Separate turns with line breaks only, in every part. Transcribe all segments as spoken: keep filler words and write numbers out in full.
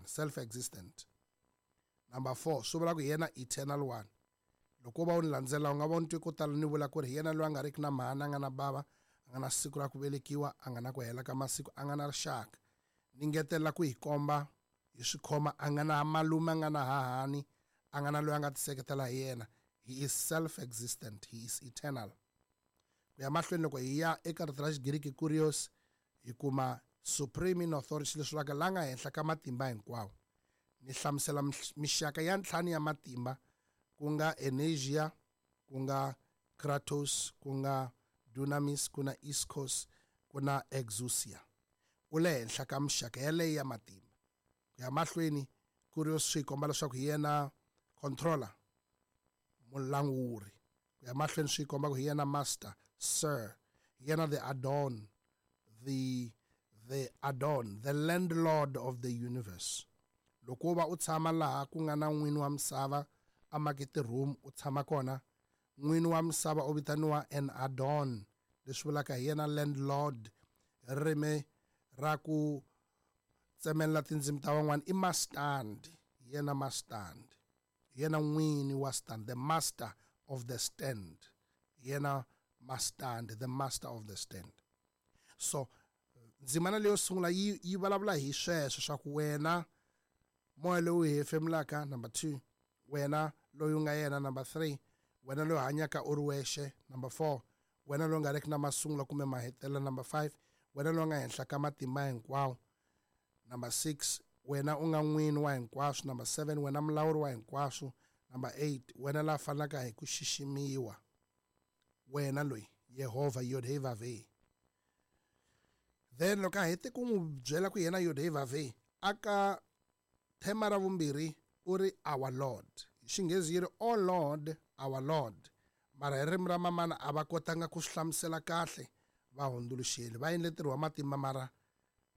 self existent. Number four, swi vula ku hi yena eternal one. Loko va u ni landzela u nga va u ni twe ko tala ni vula ku ri hi yena loyi a nga riki na mhani, a nga na bava, a nga na siku ra ku velekiwa, a nga na ku hela ka masiku, a nga na rixaka. Ni ngetela ku hi komba hi swi khoma, a nga na malume, a nga na hahani, a nga na loyi a nga tiseketela hi yena. He is self existent, he is eternal. Ku ya mahlweni loko hi ya eka rito ra Xigiriki kurios, hi kuma supreme in authority, leswi vulaka la nga henhla ka matimba hinkwawo. Ni hlamusela mixaka ya ntlhanu ya matimba, ku nga energia, ku nga kratos, ku nga dunamis, ku na iskos, ku na exousia. U le henhla ka mixaka yaleyo ya matimba. Ku ya mahlweni kurios swi komba leswaku hi yena controller, mulanguri. Ku ya mahlweni swi komba ku hi yena master, sir, hi yena the adon, the the adon, the landlord of the universe. Loko va u tshama laha ku nga na n'wini wa misava a makete room, u tshama kona, n'wini wa misava u vitaniwa an adon, leswi vulaka hi yena landlord. Ririmi ra ku tsemelela tindzimi ta van'wana i mastand, yena mastand, yena n'wini wa stand, the master of the stand, yena mastand, the master of the stand. So ndzimana leyo sungula yi yi vulavula hi sweswo swa ku wena moya lowu hi hefemulaka, number two, wena loyi u nga yena, number three, wena loyi hanyaka u ri wexe, number four, wena loyi nga riki na masungulo kumbe mahetelelo, number five, wena loyi nga henhla ka matimba hinkwawo, number six, wena u nga n'wini wa hinkwaswo, number seven, wena mulawuri wa hinkwaswo, number eight, wena la fanelaka hi ku xiximiwa, wena loyi Yehovha Yod-Heh-Vav-Heh. Then loko a hete ku n'wi byela ku yena Yod-Heh-Vav-Heh, aka thema ra vumbirhi u ri our Lord. Hi Xinghezi yi ri O Lord, our Lord. Mara hi ririmi ra mamana a va kotanga ku swi hlamusela kahle va hundzuluxeli, va endle ntirho wa matimba mara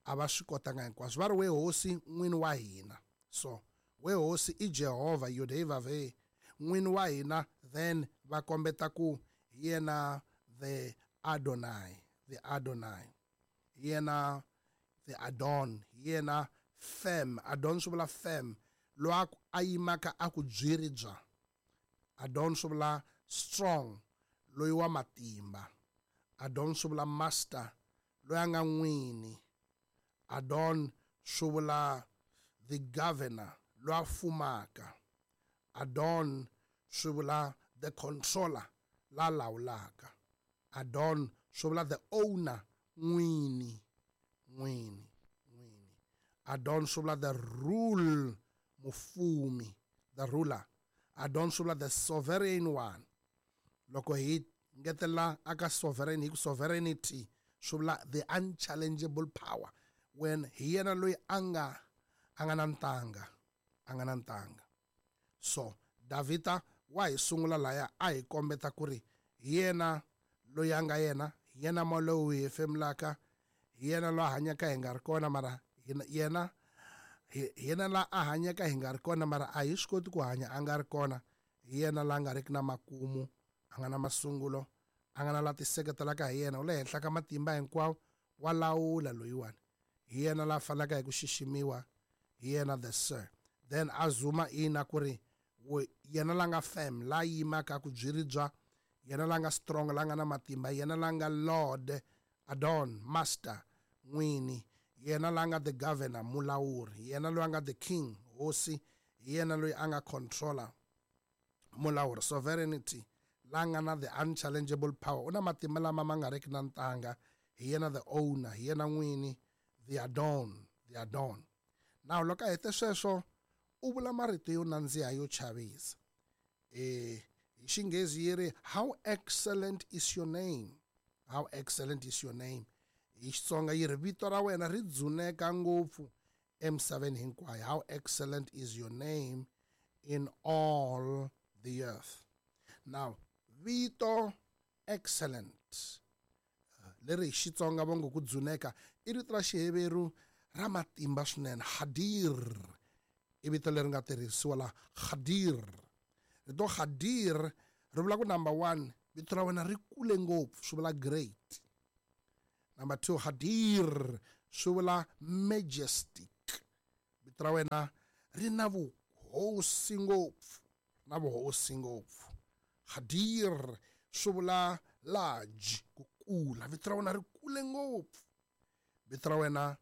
a va swi kotanga hinkwaswo. Va ri we hosi n'wini wa hina. So we hosi i Jehovha Yod-Heh-Vav-Heh, n'wini wa hina. Then va kombeta ku hi yena the Adonai, the Adonai, hi yena the Adon, hi yena firm. Adon swi vula firm, loyi a yimaka a ku byiri bya. Adon swi vula strong, loyi wa matimba. Adon swi vula master, loyi a nga n'wini. Adon swi vula the governor, loyi a fumaka. Adon swi vula the controller, la lawulaka. Adon swi vula the owner, n'wini, n'wini, n'wini. Adon swi vula the rule, mufumi, the ruler. Adon swi vula the sovereign one. Loko hi ngetela aka sovereign, hi ku sovereignty swi vula the unchallengeable power. When hi yena loyi a nga a nga na ntanga, a nga na ntanga. So Davhida wa hi sungula laya a hi kombeta ku ri hi yena loyi a nga yena, hi yena moya lowu hi hefemulaka, hi yena loyi a hanyaka hi nga ri kona, mara yena hi yena la a hanyaka hi nga ri kona, mara a hi swi koti ku hanya a nga ri kona. Hi yena la nga riki na makumu, a nga na masungulo, a nga na la tiseketelaka hi yena, u le henhla ka matimba hinkwawo, wa lawula loyiwani. Hi yena la fanelaka hi ku xiximiwa, hi yena the sir. Then a zuma ina ku ri yena la nga firm, la yimaka ku byiri bya, yena la nga strong, la nga na matimba, yena la nga Lord, Adon, master, n'wini, yena la nga the governor, mulawuri, yena loyi a nga the king, hosi, yena loyi a nga controller, mulawuri, sovereignty, la nga na the unchallengeable power, u na matimba lama ma nga riki na ntanga, hi yena the owner, hi yena n'wini, the Adon, the Adon. Now loko a hete sweswo u vula marito yo nandziha yo chavisa. Eh, hi Xinghezi yi ri how excellent is your name, how excellent is your name. Hi Xitsonga yi ri vito ra wena ri dzuneka ngopfu emisaveni hinkwayo. How excellent is your name in all the earth. Now vito excellent leri hi Xitsonga va ngo ku dzuneka i rito ra Xiheveru ra matimba swinene, hadir i vito leri nga tirhisiwa la, hadir. Rito hadir ri vula ku number one, vito ra wena ri kule ngopfu, swi vula great. Number two, hadir swi vula majestic, vito Vito ra wena ri na vuhosi ngopfu, na vuhosi ngopfu. Qadir swi vula large, ku kula. Vito ra wena ri kule ngopfu. Vito ra wena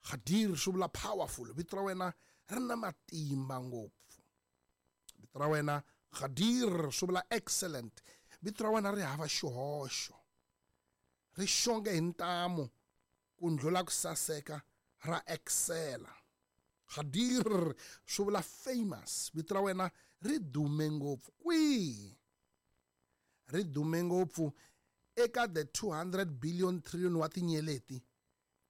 Qadir swi vula powerful. Vito ra wena ri na matimba ngopfu. Vito ra wena Qadir swi vula excellent. Vito ra wena ri hava xihoxo, ri xonge hi ntamu ku ndlula ku saseka, ra excela. Qadir swi vula famous. Vito ra wena ri dume ngopfu. Kwihi? Ri dume ngopfu eka the two hundred billion trillion wa tinyeleti.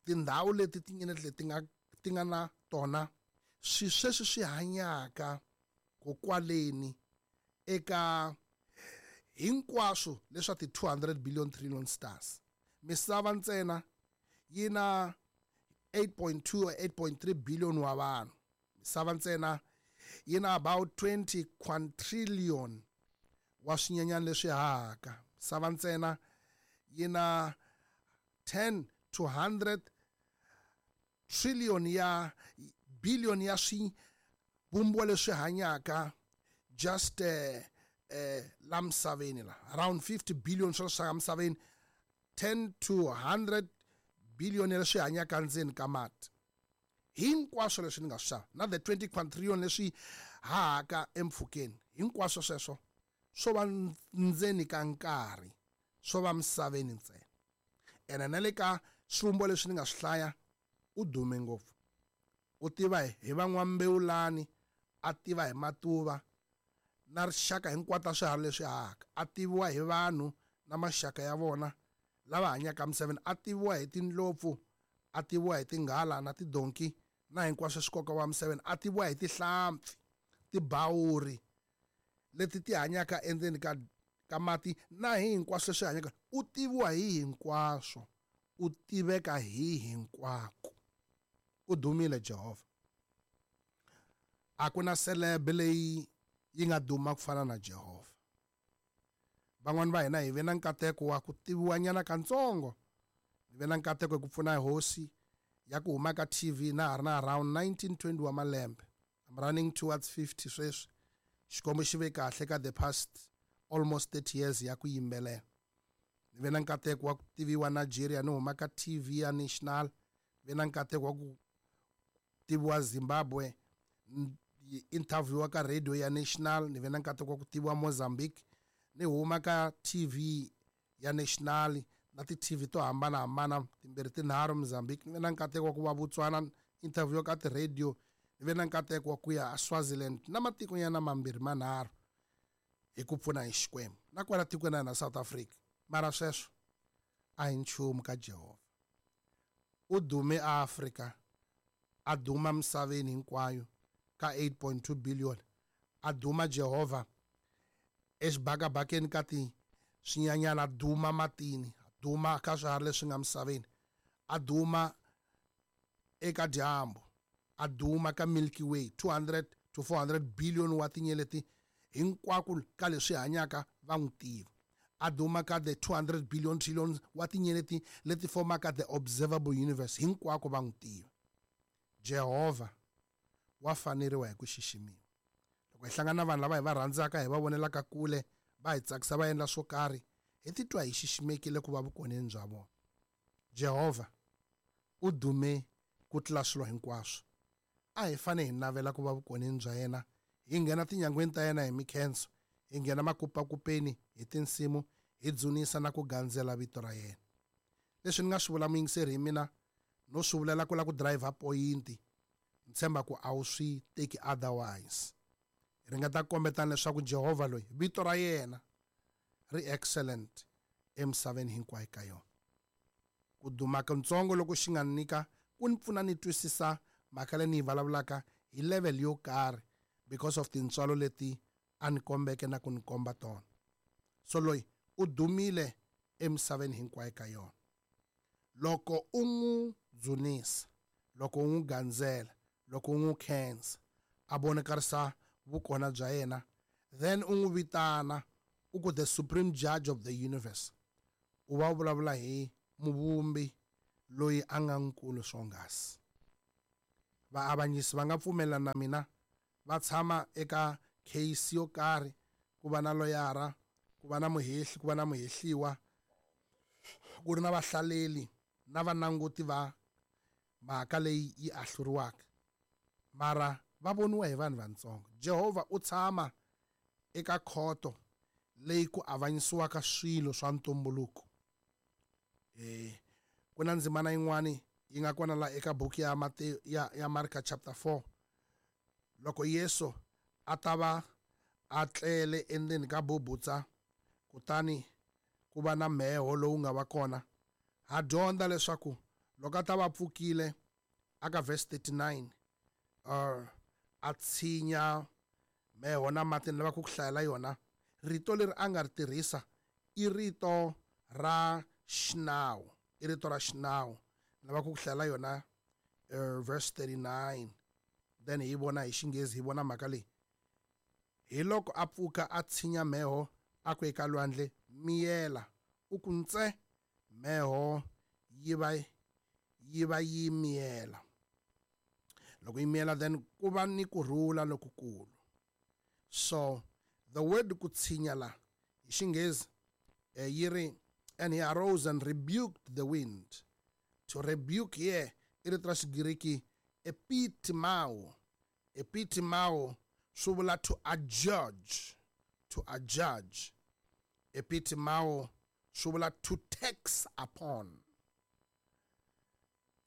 Tindhawu leti tinyeleti leti nga ti nga na tona swi sweswi swi hanyaka kokwaleni eka hinkwaswo leswa ti two hundred billion trillion stars. Misava ntsena yi na eight point two or eight point three billion wa vanhu. Misava ntsena yi na about twenty quadrillion wa swinyenyana leswi hahaka. Misava ntsena yi na ten to hundred trillion ya billion ya swivumbiwa leswi hanyaka just eh, eh, la misaveni la around fifty billion swa swa misaveni, ten to hundred billion leswi hanyaka ndzeni ka mati. Hinkwaswo leswi ni nga swi xava na the twenty quadrillion leswi hahaka empfhukeni, hinkwaswo sweswo swo va ndzeni ka nkarhi, swo va misaveni ntsena. Ene na le ka swivumbiwa leswi ni nga swi hlaya, u dume ngopfu. U tiva hi van'wambewulani, a tiva hi matuva na rixaka hinkwato ta swiharhi leswi hahaka, a tiviwa hi vanhu na maxaka ya vona lava hanyaka misaveni, a tiviwa hi tindlopfu, a tiviwa hi tinghala na tidonki na hinkwaswo swi nkoka wa misaveni, a tiviwa hi tihlampfi, tibawuri leti ti hanyaka endzeni ka ka mati na hi hinkwaswo leswi hanyaka. U tiviwa hi hinkwaswo, u tiveka hi hinkwako. U dumile Jehovha. A ku na celeb leyi yi nga duma ku fana na Jehovha. Van'wani va hina hi ve na nkateko wa ku tiviwa nyana kantsongo. Ni ve na nkateko hi ku pfuna hosi ya ku huma ka T V na ha ri na around nineteen twenty wa malembe. I'm running towards fifty sweswi. Xikwembu xi ve kahle ka the past almost thirty years ya ku yimbelela. Ni ve na nkateko wa ku tiviwa Nigeria ni huma ka T V ya National. Ni ve na nkateko wa ku tiviwa Zimbabwe, interview ka radio ya National. Ni ve na nkateko wa ku tiviwa Mozambique, ni huma ka T V ya National na ti T V to hambanahambana timbirhi tinharhu Mozambique. Ni ve na nkateko wa ku va Botswana, interview ka ti radio. Ni ve na nkateko wa ku ya Swaziland na matiko nyana mambirhi manharhu hi ku pfuna hi Xikwembu, na kwala tikweni na South Africa. Mara sweswo a hi nchumu ka Jehovha. U dume Afrika, a duma misaveni hinkwayo ka eight point two billion. A duma Jehovha exibakabakeni ka ti swinyanyana, a duma matini, a duma ka swiharhi leswi nga misaveni, a duma eka dyambu, a duma ka Milky Way, two hundred to four hundred billion wa tinyeleti hinkwako ka leswi hanyaka va n'wi tiva. A duma ka the two hundred billion trillion wa tinyeleti leti fomaka the observable universe, hinkwako va n'wi tiva. Jehovha wa faneriwa hi ku xiximiwa. Loko hi hlangana na vanhu lava hi va rhandzaka, hi va vonelaka kule, va hi tsakisa, va endla swo karhi, hi titwa hi xiximekile ku va vukoneni bya vona. Jehovha u dume ku tlula swilo hinkwaswo. A hi fanele hi navela ku va vukoneni bya yena, hi nghena tinyangweni ta yena hi mikhenso, hi nghena makupakupeni hi tinsimu, hi dzunisa na ku gandzela vito ra yena. Leswi ni nga swi vula muyingiseri hi mina, no swi vulela ku la ku driver point, ni tshemba ku a wu swi teki otherwise. Hi ringeta ku kombetana leswaku Jehovha loyi vito ra yena ri excellent emisaveni hinkwayo ka yona. Ku duma kantsongo loko xi nga nyika ku ni pfuna ni twisisa mhaka leyi ni yi vulavulaka hi level yo karhi because of tintswalo leti a ni kombeke na ku ni komba tona. So loyi u dumile emisaveni hinkwayo ka yona. Loko u n'wi dzunisa, loko u n'wi gandzela, loko u n'wi khensa, a vonakarisa vukona bya yena, then u n'wi vitana u ku the supreme judge of the universe. U va u vulavula hi muvumbi loyi a nga nkulu swonghasi. Vaavanyisi va nga pfumelelana na mina, va tshama eka case yo karhi, ku va na loyara, ku va na muhehli, ku va na muhehliwa, ku ri na vahlaleli na vananguti va mhaka leyi yi ahluriwaka, mara va voniwa hi vanhu vatsongo. Jehovha u tshama eka khoto leyi ku avanyisiwaka swilo swa ntumbuluko. Eh ku na ndzimana yin'wani yi nga kona la eka buku ya Mateyu ya, ya Marka chapter four, loko Yesu a ta va a tlele endzeni ka bubutsa, kutani ku va na mheho lowu nga va kona. Ha dyondza leswaku loko a ta va pfukile aka verse thirty-nine, uh, a tshinya mheho na mati, ni lava ku ku hlayela yona. Rito leri a nga ri tirhisa i rito ra xinawu, i rito ra xinawu. Ni lava ku ku hlayela yona, uh, verse thirty-nine, then hi vona hi xinghezi, hi vona mhaka leyi. Hi loko a pfuka a tshinya mheho, a ku eka lwandle, miyela, u ku ntse, mheho yi va yi va yi miyela. Loko yi miyela, then ku va ni kurhula lokukulu. So the word ku tshinya la hi xinghezi, eh, yi ri, and he arose and rebuked the wind. To rebuke here i rito ra xigiriki epitimao. Epitimao swi vula to adjudge, to adjudge. Epitimao swi vula to tax upon.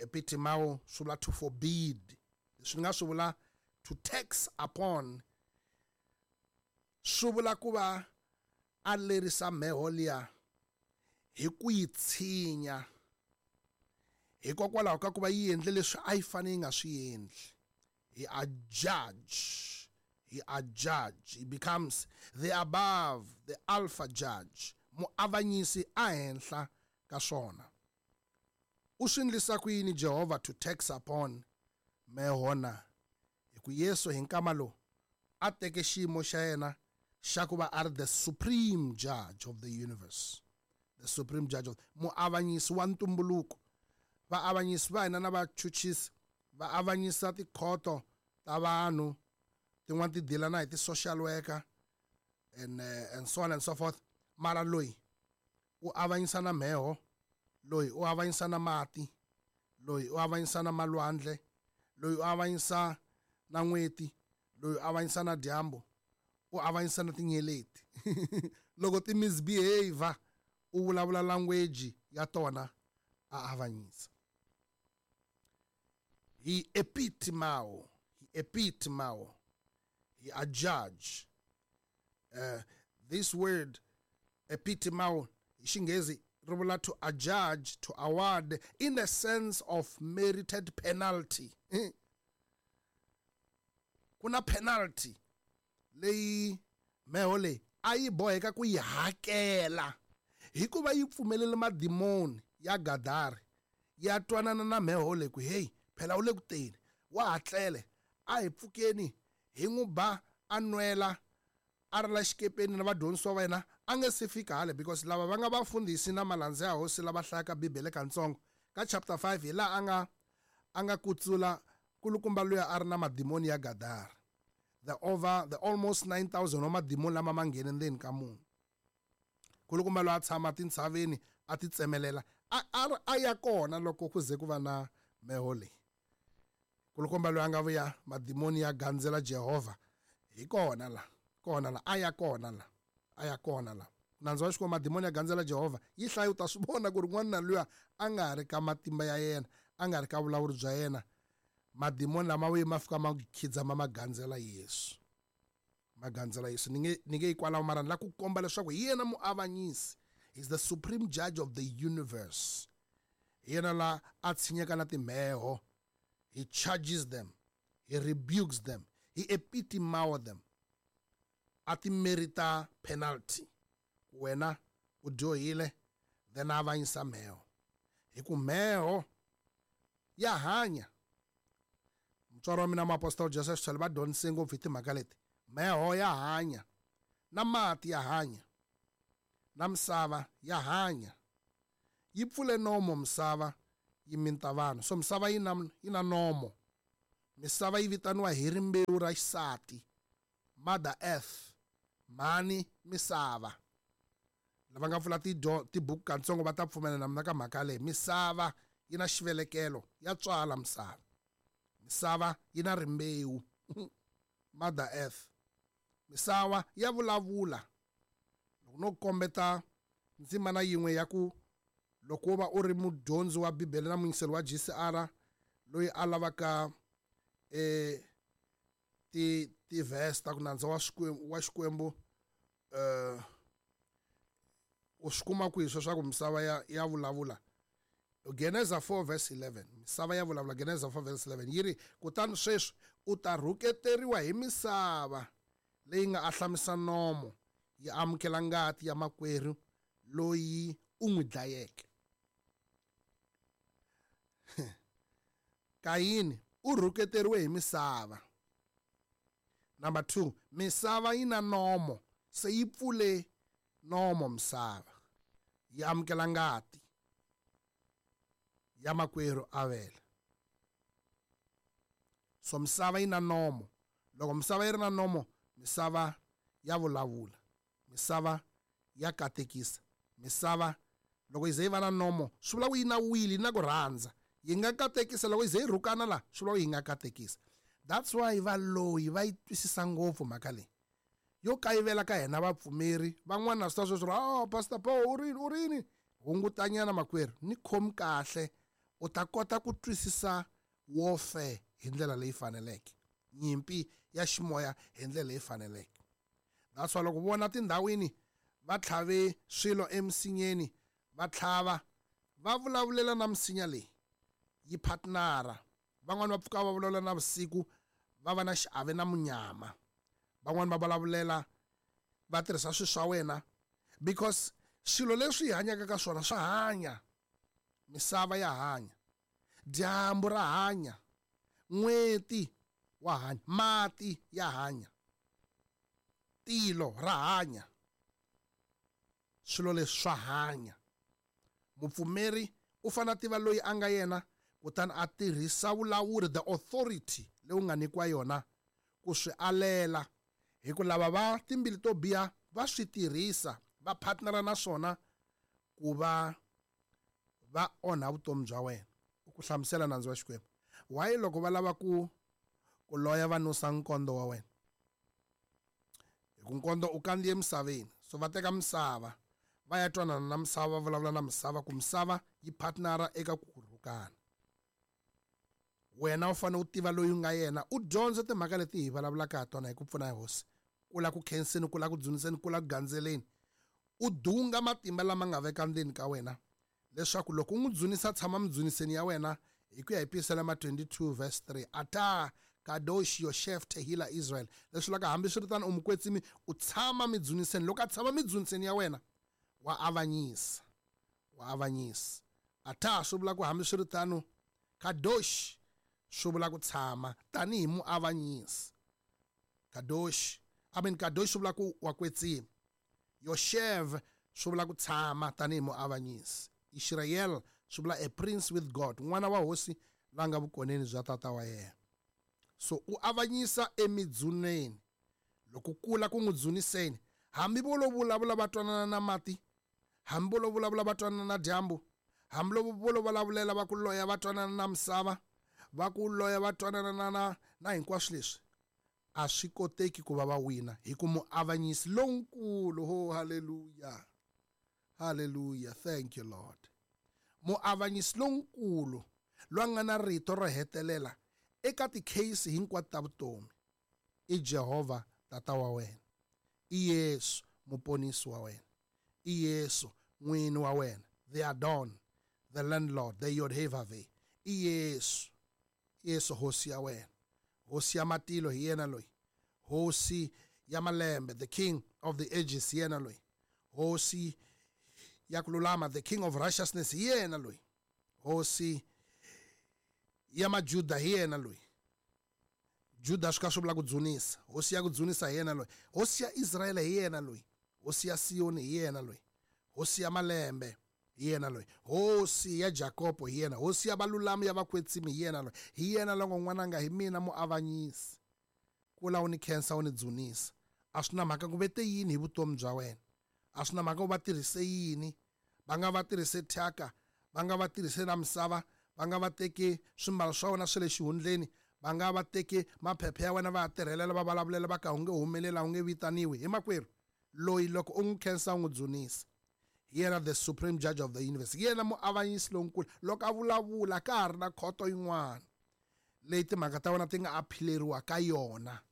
Epitimao swi vula to forbid. Leswi nga swi vula to tax upon, swi vula ku va a lerisa mheho liya hi ku yi tshinya, hikokwalaho ka ku va yi endle leswi a yi fanele yi nga swi endli. He adjudge, he adjudge, he becomes the above, the alpha judge, muavanyisi a henhla ka swona. U swi endlisa ku yini Jehovha to tax upon mheho na? Hi ku Yesu hi nkama lowu a teke xiyimo xa yena xa ku va a ri the supreme judge of the universe, the supreme judge of muavanyisi wa ntumbuluko. Vaavanyisi va hina na vachuchisi va avanyisa tikhoto ta vanhu, tin'wana ti deala na hi ti-social worker and, uh, and so on and so forth. Mara loyi u avanyisa na mheho, loyi u avanyisa na mati, loyi u avanyisa na malwandle, loyi u avanyisa na n'weti, loyi u avanyisa na dyambu, u avanyisa na tinyeleti. Loko ti misbehave, u vulavula language ya tona, a avanyisa. He epitimao, he epitimao, he a judge. Uh, this word epitimao hi xinghezi ri vula to adjudge, to award in the sense of merited penalty. Ku na penalty leyi mheho leyi a yi boheka ku yi hakela hikuva yi pfumelele madimoni ya Gadara ya twanana na mheho leyi ku hey, phela u le ku teni, wa hatlele, a hi pfukeni hi n'wi ba a nwela a ri la xikepeni na vadyondzisiwa va yena a nge se fika hale, because lava va nga vafundhisi na malandza ya hosi lava hlayaka Bibele katsongo ka chapter five hi laha a nga a nga kutsula kulukumba luya a ri na madimoni ya Gadara, the over the almost nine thousand wa madimoni lama ma nghene ndzeni ka munhu. Kulukumba loyi a tshama tintshaveni a ti tsemelela a, a, a ya kona loko ku ze ku va na mheho leyi. Kulukumba loyi a nga vuya madimoni ya gandzela Jehovha hi kona la, kona la, a ya kona la, a ya kona la. Nandzu wa Xikwembu madimoni ya gandzela Jehovha yi hlaya u ta swi vona ku ri n'wana luya a nga ri ka matimba ya yena, a nga ri ka vulawuri bya yena. Madimoni lama vuye ma fika ma khidzama ma gandzela Yesu, ma gandzela Yesu. Ni nge ni nge yi kwalaho, mara ni la ku komba leswaku hi yena muavanyisi. He's the supreme judge of the universe. Hi yena la a tshinyaka na timheho. He charges them, he rebukes them, he epitimao them. A ti merita penalty. Wena u dyohile, then a avanyisa mheho. Hi ku mheho ya hanya. Mutswari wa mina muapostoli Joseph Sithole va dyondzise ngopfu hi timhaka leti. Mheho ya hanya, na mati ya hanya, na misava ya hanya. Yi pfule nomo misava yi minta vanhu. So misava yi na, yi na nomo. Misava yi vitaniwa hi rimbewu ra xisati, Mother Earth, mhani misava. Lava nga pfula tibuku katsongo va ta pfumela na mina ka mhaka leyi. Misava yi na xivelekelo, ya tswala misava. Misava yi na rimbewu, Mother Earth. Misava ya vulavula. Loko no kombeta ndzimana yin'we ya ku loko wo va u ri mudyondzi wa Bibele na muyingiseri wa G C R loyi a lavaka eh ti ti-verse ta ku nandza wa Xikwembu wa Xikwembu eh u swi kuma kwihi sweswaku misava ya ya vulavula? Geneza four verse eleven. Misava ya vulavula. Geneza four verse eleven yi ri, kutani sweswi u ta rhuketeriwa hi misava leyi nga ahlamisa nomo yi amukela ngati ya makwerhu loyi u n'wi dlayeke. Kayini u rhuketeriwe hi misava. Number two, misava yi na nomo, se yi pfule nomo misava yi amukela ngati ya makwerhu Avele. So misava yi na nomo. Loko misava yi ri na nomo, misava ya vulavula, misava ya katekisa. Misava loko yi ze yi va na nomo, swi vula ku yi na wili, yi na ku rhandza. Yi nga katekisa. Loko yi ze yi rhukana la, swi vula ku yi nga katekisa. That's why valoyi va yi twisisa ngopfu mhaka leyi yo kayivela ka hina vapfumeri. Van'wana swi ta sweswo, oh Pastor Paul u rini u rini, hungutanyana makwerhu, ni khomi kahle, u ta kota ku twisisa warfare hi ndlela leyi faneleke, nyimpi ya ximoya hi ndlela leyi faneleke. That's why loko vona tindhawini va tlhave swilo emisinyeni, va tlhava va vulavulela na misinya leyi yi partnera. Van'wani va pfuka va vulavula na vusiku, va va na xiave na munyama. Van'wani va vulavulela va tirhisa swilo swa wena, because swilo leswi hi hanyaka ka swona swa hanya. Misava ya hanya, dyambu ra hanya, n'weti wa hanya, mati ya hanya, tilo ra hanya. Swilo leswi swa hanya. Mupfumeri u fanele a tiva loyi a nga yena, kutani a tirhisa vulawuri, the authority leyi u nga nyikiwa yona ku swi alela. Hi ku lava va timbili to biha va swi tirhisa, va partnera na swona ku va va onha vutomi bya wena. U ku hlamusela nandzu wa Xikwembu. Why loko va lava ku ku loya va nusa nkondo wa wena? Hi ku nkondo u kandziye emisaveni, so va teka misava va ya twanana na misava, va vulavula na misava ku misava yi partnera eka ku rhukana. Wena u fanele u tiva loyi u nga yena, u dyondza timhaka leti hi vulavulaka ha tona hi ku pfuna hi Hosi. Kula ku khenseni, kula ku dzuniseni, kula ku gandzeleni. U dunga matimba lama nga veka ndzeni ka wena, leswaku loko u n'wi dzunisa, tshama midzuniseni ya wena. Hi ku ya hi Pisalema twenty-two verse three, ata kadosh yoshef tehila Israel, leswi vulaka hambiswiritano u mukwetsimi, u tshama midzuniseni. Loko a tshama midzuniseni ya wena, wa avanyisa, wa avanyisa. Ata swi vula ku hambiswiritano, kadosh swi vula ku tshama tanihi muavanyisi. Kadosh, I mean kadosh swi vula ku wa kwetsima. Yoshev swi vula ku tshama tanihi muavanyisi. Israel swi vula a prince with God, n'wana wa hosi la nga vukoneni bya tata wa yena. So u avanyisa emidzuneni. Loko kula ku n'wi dzuniseni, hambi vo lo vulavula va twanana na mati, hambi vo lo vulavula va twanana na dyambu, hambi vo lo vulavulela va ku loya va twanana na misava, va ku loya va twanana na na na hinkwaswo leswi, a swi koteki ku va va wina, hi ku muavanyisi lonkulu. Oh, hallelujah, hallelujah, thank you Lord. Muavanyisi lonkulu loyi a nga na rito ro hetelela eka ti-case hinkwato ta vutomi i Jehovha tata wa wena, i Yesu muponisi wa wena, i Yesu n'wini wa wena, the Adon, the landlord, the Yod-Heh-Vav-Heh, i Yesu, Yesu hosi ya wena, hosi ya matilo hi yena loyi, hosi ya malembe, the king of the ages hi yena loyi, hosi ya ku lulama, the king of righteousness hi yena loyi, hosi ya Majuda hi yena loyi. Juda swi ka swi vula ku dzunisa, hosi ya ku dzunisa hi yena loyi, hosi ya Israele hi yena loyi, hosi ya Siyoni hi yena loyi, hosi ya malembe Hi yena loyi. Hosi ya Jakobo hi yena. Hosi ya valulami ya vakwetsimi hi yena loyi. Hi yena loko n'wananga hi mina muavanyisi. Kula u ni khensa u ni dzunisa. A swi na mhaka ku vete yini hi vutomi bya wena. A swi na mhaka ku va tirhise yini. Va nga va tirhise thyaka, va nga va tirhise na misava, va nga va teki swimbalo swa wena swa le xihundleni, va nga va teki maphepha ya wena va ya tirhelela va vulavulela va ka u nge humeleli, u nge vitaniwi. Hi makwerhu loyi loko u n'wi khensa u n'wi dzunisa. Hi yena the supreme judge of the universe. Hi yena muavanyisi lonkulu. Loko a vulavula ka ha ri na khoto yin'wana leyi timhaka ta wena ti nga aphileriwa ka yona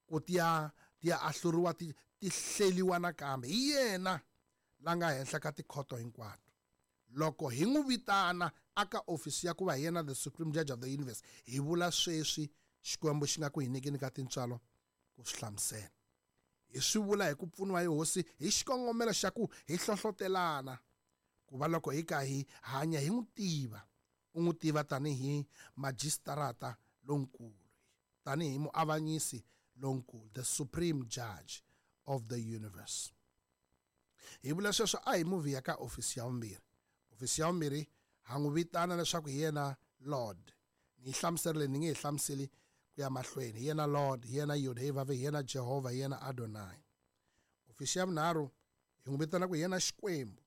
ku ti ya ti ya ahluriwa ti ti hleliwa nakambe. Hi yena la nga henhla ka tikhoto hinkwato. Loko hi n'wi vitana aka ofisi ya ku va hi yena the supreme judge of the universe, hi vula sweswi Xikwembu xi nga ku hi nyikeni ka tintswalo ku swi hlamusela. Hi swi vula hi ku pfuniwa hi hosi hi xikongomelo xa ku hi hlohlotelana ku va loko hi ka hi hanya hi n'wi tiva, u n'wi tiva tanihi majistarata lonkulu, tanihi muavanyisi lonkulu, the supreme judge of the universe. Hi vula sweswo a hi movie ya ka ofisi ya vumbirhi. Ofisi ya vumbirhi ha n'wi vitana leswaku hi yena Lord. Ni yi hlamuserile, ni nge hi hlamuseli ku ya mahlweni. Hi yena Lord, hi yena Yod-Heh-Vav, hi yena Jehovah, hi yena Adonai. Ofisi ya vunharhu hi n'wi vitana ku hi yena Xikwembu.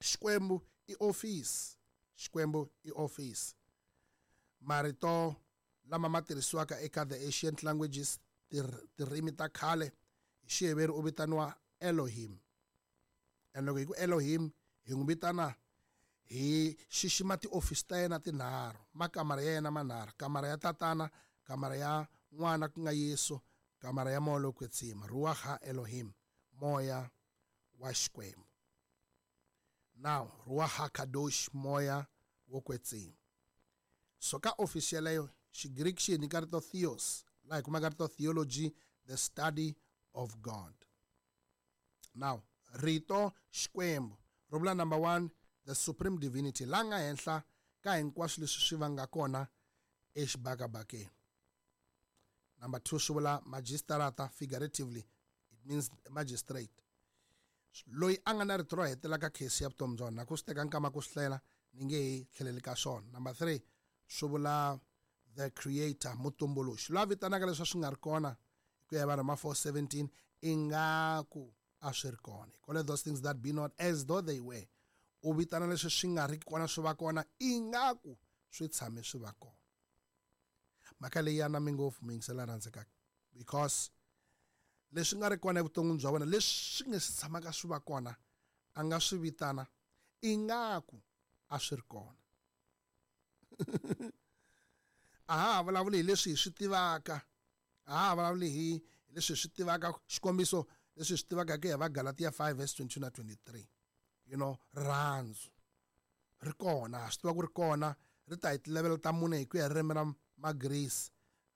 Xikwembu i office. Xikwembu i office. Marito lama ma tirhisiwaka eka the ancient languages, tirimi ta khale, hi Xiheberi u vitaniwa Elohim. And loko hi ku Elohim hi n'wi vitana hi xixima tiofisi ta yena tinharhu, makamara ya yena manharhu, kamara ya tatana, kamara ya n'wana ku nga Yesu, kamara ya moya lowo kwetsima, Ruach ha Elohim, moya wa Xikwembu. Now, Ruach ha Kadosh, moya wo kwetsima. So ka ofisi yeleyo, Xigriki xi hi nyika rito theos, laha hi kumaka rito theology, the study of God. Now, rito Xikwembu ri vula number one, the supreme divinity, la nga henhla ka hinkwaswo leswi swi vanga kona exibakabakeni. Number two, swi vula magistrata, figuratively it means magistrate, loyi a nga na rito ro hetelela ka case ya vutomi bya wena. Ku swi teka nkama ku swi hlela, ni nge hi tlheleli ka swona. Number three, swi vula the creator, mutumbuluxi, loyi a vitanaka leswi swi nga ri kona hi ku ya hi Varhoma four seventeen, ingaku a swi ri kona. He called those things that be not as though they were. U vitana leswi swi nga ri kona swi va kona ingaku swi tshame swi va kona. Mhaka leyi ya nami ngopfu mi yingisela rhandzekaka, because leswi nga ri kona evuton'wini bya wena, leswi swi nge si tshamaka swi va kona, a nga swi vitana ingaku a swi ri kona. A ha vulavuli hi leswi hi swi tivaka, a ha vulavuli hi leswi hi swi tivaka. Xikombiso leswi hi swi tivaka hi ku ya va Galatia five verse twenty-two na twenty-three. You know, rirhandzu ri kona, swi tiva ku ri kona, ri ta hi tilevel ta mune hi ku ya ririmi ra Magrisi.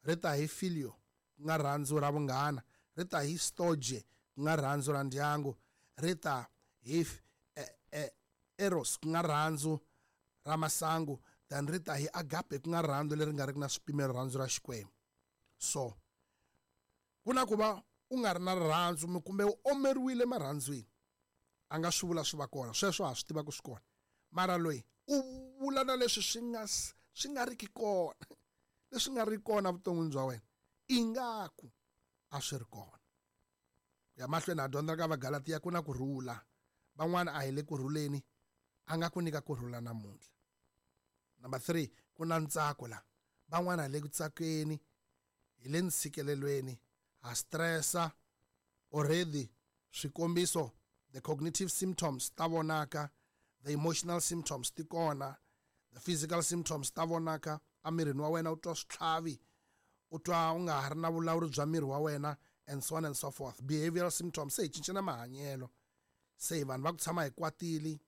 Ri ta hi filio, ku nga rirhandzu ra vunghana, ri ta hi storge, ku nga rirhandzu ra ndyangu, ri ta hi eros, ku nga rirhandzu ra masangu, then ri ta hi agape, ku nga rirhandzu leri nga ri na swipimelo, rirhandzu ra Xikwembu. So ku na ku va u nga ri na rirhandzu kumbe u omeriwile marhandzwini, a nga swi vula swi va kona, sweswo ha swi tiva ku swi kona. Mara loyi u vula na leswi swi nga swi nga riki kona, leswi nga ri kona vuton'wini bya wena, ingaku a swi ri kona. Ku ya mahlweni ha dyondza ka Vagalatiya ku na ku rhula. Van'wana a hi le ku rhuleni, a nga ku nyika ku rhula namuntlha. Number three, ku na ntsako la. Van'wana hi le ku tsakeni, hi le ntshikelelweni, ha stressa already. Swikombiso, the cognitive symptoms ta vonaka, the emotional symptoms ti kona, the physical symptoms ta vonaka. Emirini wa wena u twa switlhavi, u twa u nga ha ri na vulawuri bya miri wa wena, and so on and so forth. Behavioral symptoms, se hi cinca na mahanyelo, se vanhu va ku tshama hi kwatile,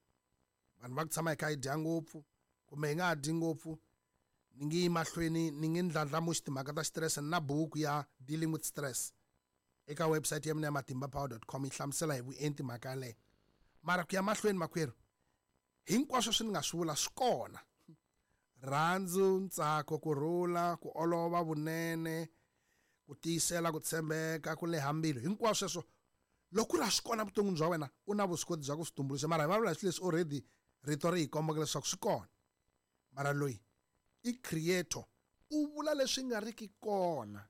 vanhu va ku tshama hi kha hi dya ngopfu kumbe hi nga ha dyi ngopfu. Ni nge yi mahlweni, ni nge ndlandlamuxi timhaka ta stress na buku ya Dealing with Stress eka website ya mina ya matimba power dot com yi hlamusela hi vuenti mhaka yaleyo. Mara ku ya mahlweni makwerhu, hinkwaswo swi ni nga swi vula swi kona. Rhandzu, ntsako, ku rhula, ku olova, vunene, ku tiyisela, ku tshembeka, ku leha mbilu, hinkwaswo sweswo Loko ku ri a swi kona vuton'wini bya wena u na vuswikoti bya ku swi tumbuluxa, mara hi vulavula hi swilo leswi already rito ri hi kombaka leswaku swi kona. Mara loyi i creator, u vula leswi nga riki kona.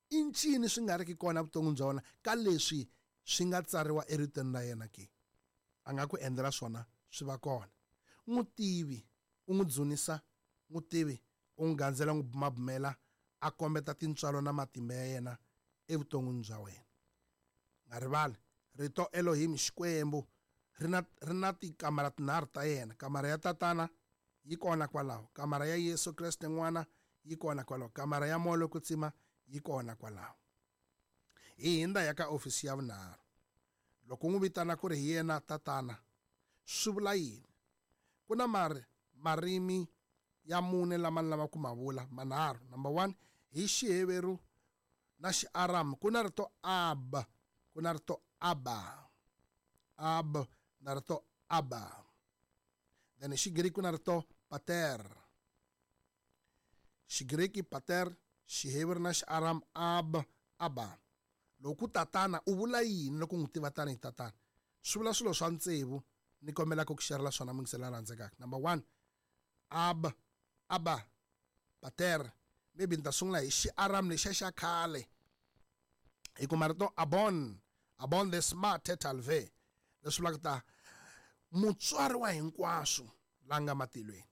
I ncini swi nga riki kona vuton'wini bya wena ka leswi swi nga tsariwa eritweni ra yena ke? A nga ku endlela swona swi va kona. N'wi tivi, u n'wi dzunisa, n'wi tivi, u n'wi gandzela, n'wi bumabumela, a kombeta tintswalo na matimba ya yena evuton'wini bya wena. Nga rivali rito Elohim, Xikwembu, ri na ri na tikamara tinharhu ta yena. Kamara ya Tatana yi kona kwalaho, kamara ya Yesu Kreste N'wana yi kona kwalaho, kamara ya Moya lowo Kwetsima yi kona kwalaho. Hi hindza ya ka ofisi ya vunharhu. Loko u n'wi vitana ku ri hi yena Tatana, swi vula yini? Ku na mari marimi ya mune lama ni lavaka ku ma vula, manharhu. Number one, hi Xiheveru na Xiaramu ku na rito Ab, ku na rito Abba. Ab na rito Abba. Then hi Xigriki ku na rito Pater. Xigriki Pater, Xiheveru na Xiaramu Ab, Abba. Loko tatana u vula yini loko n'wi tiva tanihi tatana? Swi vula swilo swa tsevu ni kombelaka ku xerela swona muyingiseri la rhandzekaka. Number one, Ab, Abba, Pater. Maybe ni ta sungula hi Xiaramu lexiya xa khale. Hi kuma rito Abon, Abon the smart talve, leswi vulaka ta mutswari wa hinkwaswo la nga matilweni.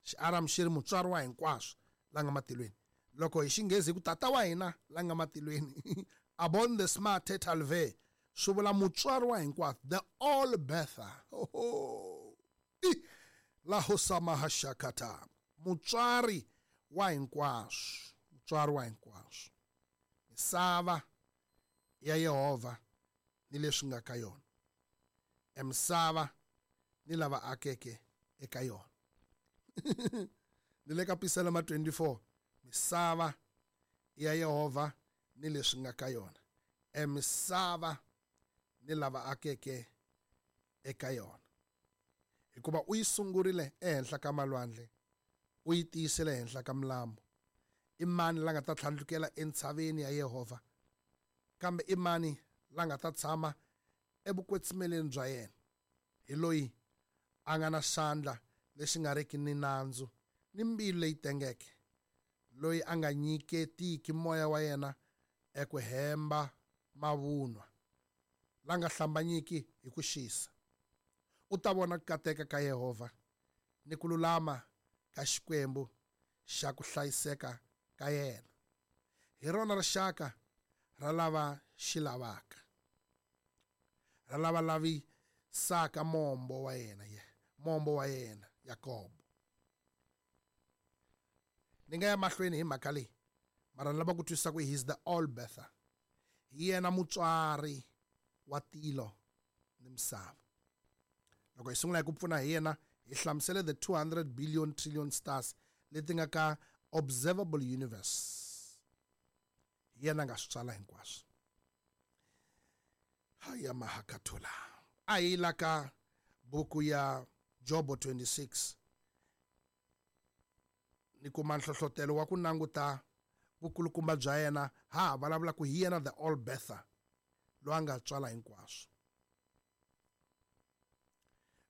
Xiaramu xi ri mutswari wa hinkwaswo la nga matilweni. Loko hi Xinghezi hi ku tata wa hina la nga matilweni, Abon the smart talve, swi vula mutswari wa hinkwaswo, the all birther. Oh, la hosamahashakata, mutswari wa hinkwaswo, mutswari wa hinkwaswo. Misava ya Yehovha ni leswi nga ka yona, emisava ni lava akeke eka yona. Ni le ka Pisalema twenty-four, misava ya Yehovha ni leswi nga ka yona, emisava ni lava akeke eka yona. Hikuva u yi sungurile ehenhla ka malwandle, u yi tiyisele ehenhla ka milambu. I mani la nga ta tlhandlukela entshaveni ya Yehovha? Kambe i mani la nga ta tshama evukwetsimeleni bya yena? Hi loyi a nga na xandla lexi nga riki ni nandzu ni mbilu leyi tengeke, loyi a nga nyiketiki moya wa yena eku hemba mavunwa, la nga hlambanyiki hi ku xisa. U ta vona ku kateka ka Yehovha ni ku lulama ka Xikwembu xa ku hlayiseka ka yena. Hi rona rixaka ra lava xi lavaka, ra lava lavisaka mombo wa yena, mombo wa yena Yakobo. Ni nga ya mahlweni hi mhaka leyi, mara ni lava ku twisisa ku he is the all birther. Hi yena mutswari wa tilo ni misava. Loko hi sungula hi ku pfuna hi yena, hi hlamusele the two hundred billion trillion stars leti nga ka observable universe. Hi yena a nga swi tswala hinkwaswo. Haya mahakatula. A hi la ka buku ya Jobo twenty-six. Ni kuma nhlohlotelo wa ku languta vukulukumba bya yena, ha ha vulavula ku hi yena the all birther, loyi a nga tswala hinkwaswo.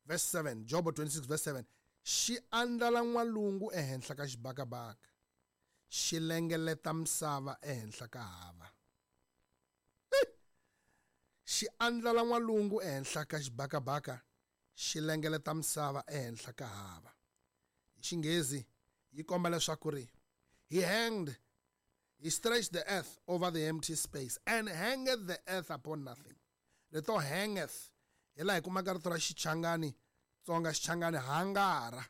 Verse seven, Jobo twenty-six verse seven. Xi andlala n'walungu ehenhla ka xibakabaka, xi lengeleta misava ehenhla ka hava. Xi andlala n'walungu ehenhla ka xibakabaka, xi lengeleta misava ehenhla ka hava. Hi Xinghezi yi komba leswaku ri he hanged, he stretched the earth over the empty space and hangeth the earth upon nothing. Rito hangeth hi laha hi kumaka rito ra Xichangani, Tsonga Xichangani, hangara.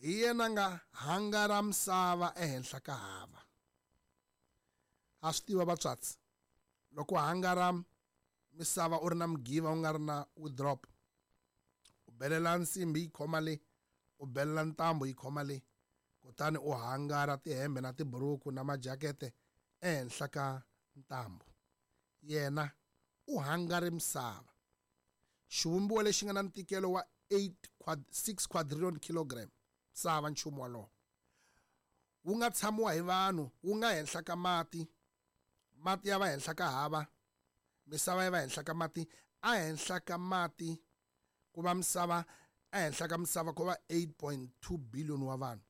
Hi yena nga hangara misava ehenhla ka hava. Ha swi tiva vatswatsi, loko hangara misava u ri na mugiva u nga ri na withdrop, u belela nsimbi yi khoma le, u belela ntambu yi khoma le, kutani u hangara tihembe na tiburuku na majakete ehenhla ka ntambu. Yena u hangare misava, xivumbiwa lexi nga na ntikelo wa eight quad, six quadrillion kilogram, misava nchumu walowo wu nga tshamiwa hi vanhu, wu nga henhla ka mati, mati ya va henhla ka hava, Misava yi va henhla ka mati, a henhla ka mati ku va misava, ehenhla ka misava ku va eight point two billion wa vanhu.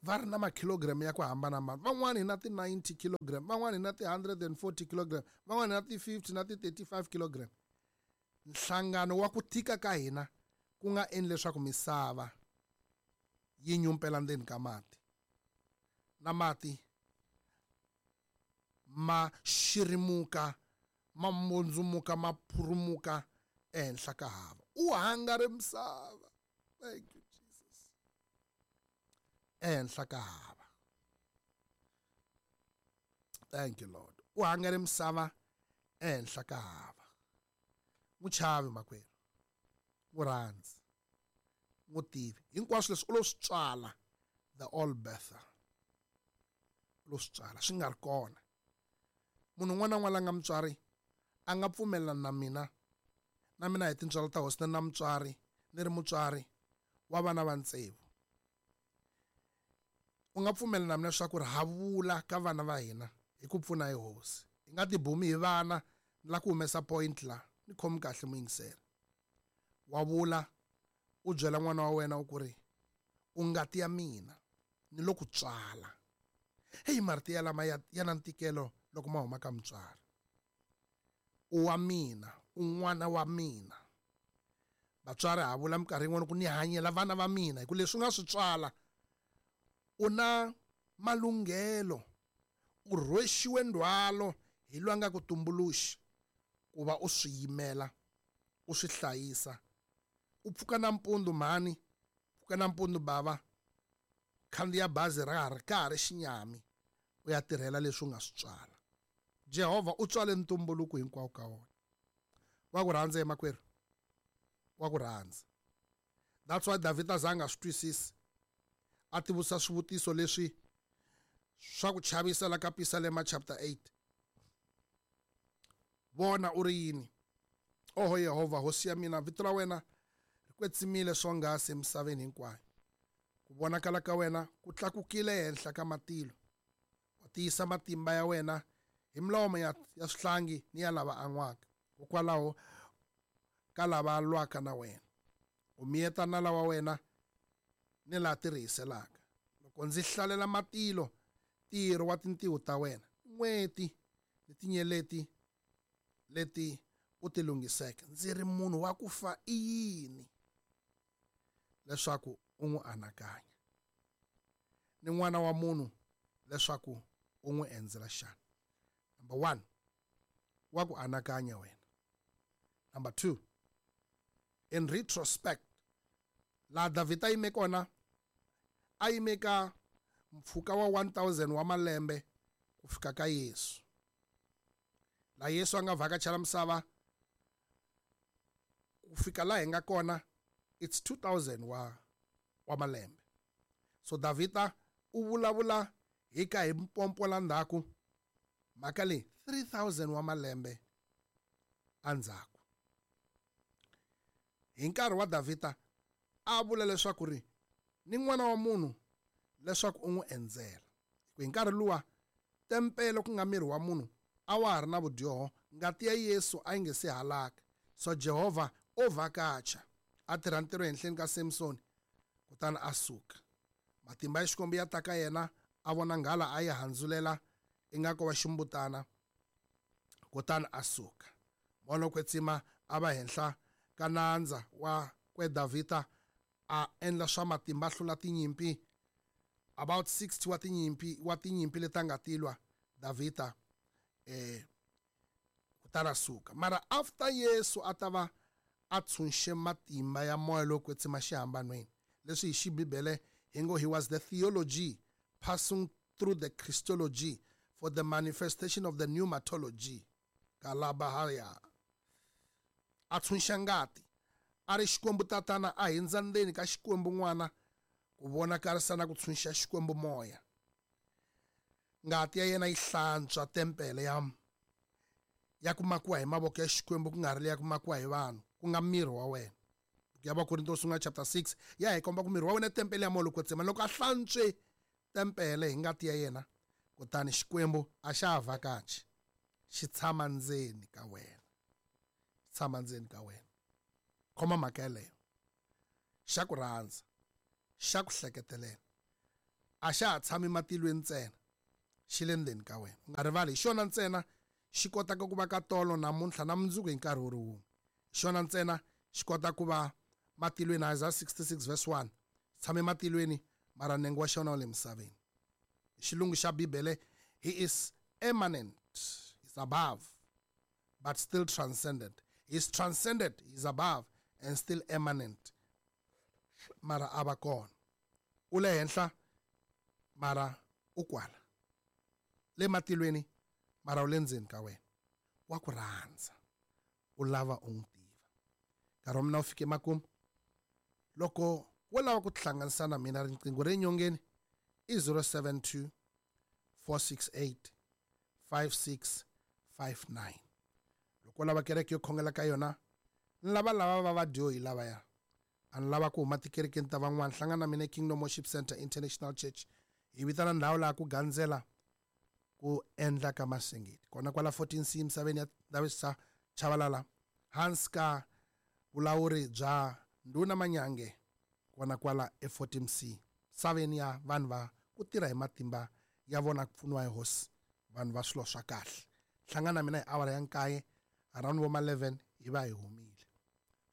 Va ri na makhilogram ya ku hambanahambana. Van'wani hi na ti ninety kilogram, van'wani hi na ti hundred and forty kilogram, van'wani hi na ti fifty na ti thirty-five kilogram. Nhlangano wa ku tika ka hina ku nga endli leswaku misava yi nyumpela ndzeni ka mati. Na mati ma xirimuka, ma mbundzumuka, ma phurumuka ehenhla ka hava. U hangare misava. Thank you, Jesus. Ehenhla ka hava. Thank you, Lord. U hangare misava ehenhla ka hava. N'wi chavi makwerhu. N'wi rhandzi. N'wi tivi. Hinkwaswo leswi u lo swi tswala, the all birther. U lo swi tswala, swi nga ri kona. Munhu un'wana na un'wana la nga mutswari a nga pfumelelani na mina, na mina hi tintswalo ta hosi na mutswari, ni ri mutswari wa vana va tsevu. U nga pfumelela na mina leswaku ri ha vula ka vana va hina hi ku pfuna hi hosi. Hi nga tibumi hi vana, ni la ku humesa point la, ni khomi kahle muyingiseri. Wa vula, u byela n'wana wa wena u ku ri, u ngati ya mina, ni lo ku tswala. Hey, marito ya lama ya, ya na ntikelo loko ma huma ka mutswari. U wa mina, u n'wana wa mina. Vatswari ha vula minkarhi yin'wana ku ni hanyela vana va mina, hi ku leswi u nga swi tswala, u na malunghelo, u rhwexiwe ndzhwalo hi loyi a nga ku tumbuluxi ku va u swi yimela, u swi hlayisa. U pfuka nampundzu mhani, pfuka nampundzu bava, khandziya bazi ra ha ri ka ha ri xinyami, u ya tirhela leswi u nga swi tswala. Jehovha u tswale ntumbuluko hinkwawo ka wona. Wa ku rhandza makwerhu, wa ku rhandza. That's why Davhida a nga swi twisisi, a tivutisa swivutiso leswi swa ku chavisa la ka Pisalema chapter eight. Vona u ri yini? Oho Yehovha, hosi ya mina, vito ra wena ri kwetsimile swonghasi emisaveni hinkwayo. Ku vonakala ka wena ku tlakukile ehenhla ka matilo. Wa tiyisa matimba ya wena hi milomo ya, ya swihlangi ni ya lava an'waka, hikwalaho ka lava lwaka na wena. U miyeta nala wa wena ni laha tirihiselaka. Loko ndzi hlalela matilo, ntirho wa tintiho ta wena, n'weti ni tinyeleti leti u ti lunghiseke, ndzi ri munhu wa ku fa i yini leswaku u n'wi anakanya, ni n'wana wa munhu leswaku u n'wi endzela xana? Number one, wa ku anakanya wena. Number two, in retrospect, laha Davhida a yime kona, a yime ka mpfhuka wa one thousand wa malembe ku fika ka Yesu. Laha Yesu a nga vhakachela misava ku fika laha hi nga kona, it's two thousand wa, wa malembe. So Davhida u vulavula hi ka hi mpompo la ndzhaku, mhaka leyi three thousand wa malembe endzhaku. Hi nkarhi wa Davhida a vula leswaku ri ni n'wana wa munhu leswaku u n'wi endzela. Hi nkarhi luwa tempele ku nga miri wa munhu a wa ha ri na vudyoho, ngati ya Yesu a yi nge se halaka. So Jehovha o vhakacha, a tirha ntirho ehenhleni ka Samson, kutani a suka. Matimba ya Xikwembu ya ta ka yena, a vona nghala a yi handzulela ingaku wa ximbutana, kutani a suka. Moya lowo kwetsima a va henhla ka nandza wa kwe Davhida, a endla swa matimba, a hlula tinyimpi, about sixty wa tinyimpi, wa tinyimpi leti a nga tilwa Davhida, eh, kutani a suka. Mara after Yesu a ta va a tshunxe matimba ya moya lowo kwetsima xihambanweni, leswi hi xibibele hi ngo he was the theology passing through the Christology for the manifestation of the pneumatology. Kalabahaya. A tshunxa ngati, a ri Xikwembu tatana, a hindza ndzeni ka Xikwembu n'wana ku vonakarisa na ku tshunxa Xikwembu moya. Ngati ya yena yi hlantswa tempele ya, ya ku makiwa hi mavoko ya Xikwembu, ku nga ri leya ku makiwa hi vanhu, ku nga miri wa wena. Buku ya Vakorinto sungula chapter six ya hi komba ku miri wa wena i tempele ya moya lowo kwetsima. Loko a hlantswe tempele hi ngati ya yena, kutani Xikwembu a xa ha vhakachi, xi tshama ndzeni ka wena. tshama ndzeni ka wena. Khoma mhaka yeleyo. Xa ku rhandza, xa ku hleketelela. A xa ha tshami matilweni ntsena, xi le ndzeni ka wena. U nga rivali, hi xona ntsena xi kotaka ku va ka tolo namuntlha na mundzuku hi nkarhi wu ri wun'we. Hi xona ntsena xi kota ku va matilweni, Isaiah sixty-six verse one. Tshame matilweni, mara nenge wa xona wu le misaveni. Hi xilungu xa Bibele, he is immanent, he's above, but still transcendent. He is transcended, he is above, and still immanent. Mara a va kona. U le henhla, mara u kwala. Le matilweni, mara u le ndzeni ka wena. Wa ku rhandza. U lava u n'wi tiva. Nkarhi wa mina wu fike makumu. Loko wo lava ku tihlanganisa na mina, riqingho re nyongeni i zero seven two, four six eight, five six five nine. Loko u lava kereke yo khongela ka yona, ni lava lava va vadyohi lavaya. A ni lava ku huma tikerekeni ta van'wana. Hlangana na mina Kingdom Worship Center International Church. Hi vitana ndhawu laha ku gandzela ku endla ka masingiti. Kona kwala fourteen C misaveni ya Ndavisa Chavalala, hansi ka vulawuri bya Ndhuna Manyange, kona kwala e fourteen C. Misaveni ya vanhu va ku tirha hi matimba ya vona ku pfuniwa hi hosi, vanhu va swilo swa kahle. Hlangana na mina hi awara ya nkaye, around vo ma eleven hi va hi humile.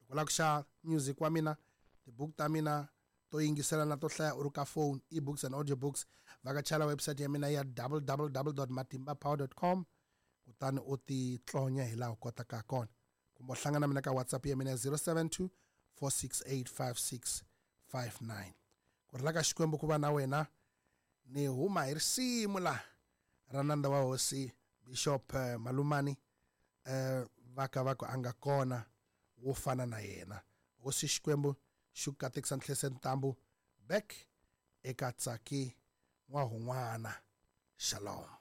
Loko u lava ku xava music wa mina, tibuku ta mina to yingisela na to hlaya u ri ka phone, e-books and audiobooks, vhakachela website ya mina ya w w w dot matimba power dot com, kutani u ti tlonya hi laha u kotaka kona. Kumbe u hlangana na mina ka WhatsApp ya mina ya zero seven two, four six eight, five six five nine. Ku rila ka Xikwembu ku va na wena. Ni huma hi risimu la ra nandza wa hosi Bishop, eh, Malumani, eh, va ka va ku a nga kona wo fana na yena. Hosi Xikwembu xi ku katekisa Nhlese Ntambu back eka Tsaki N'wahun'wana. Shalom.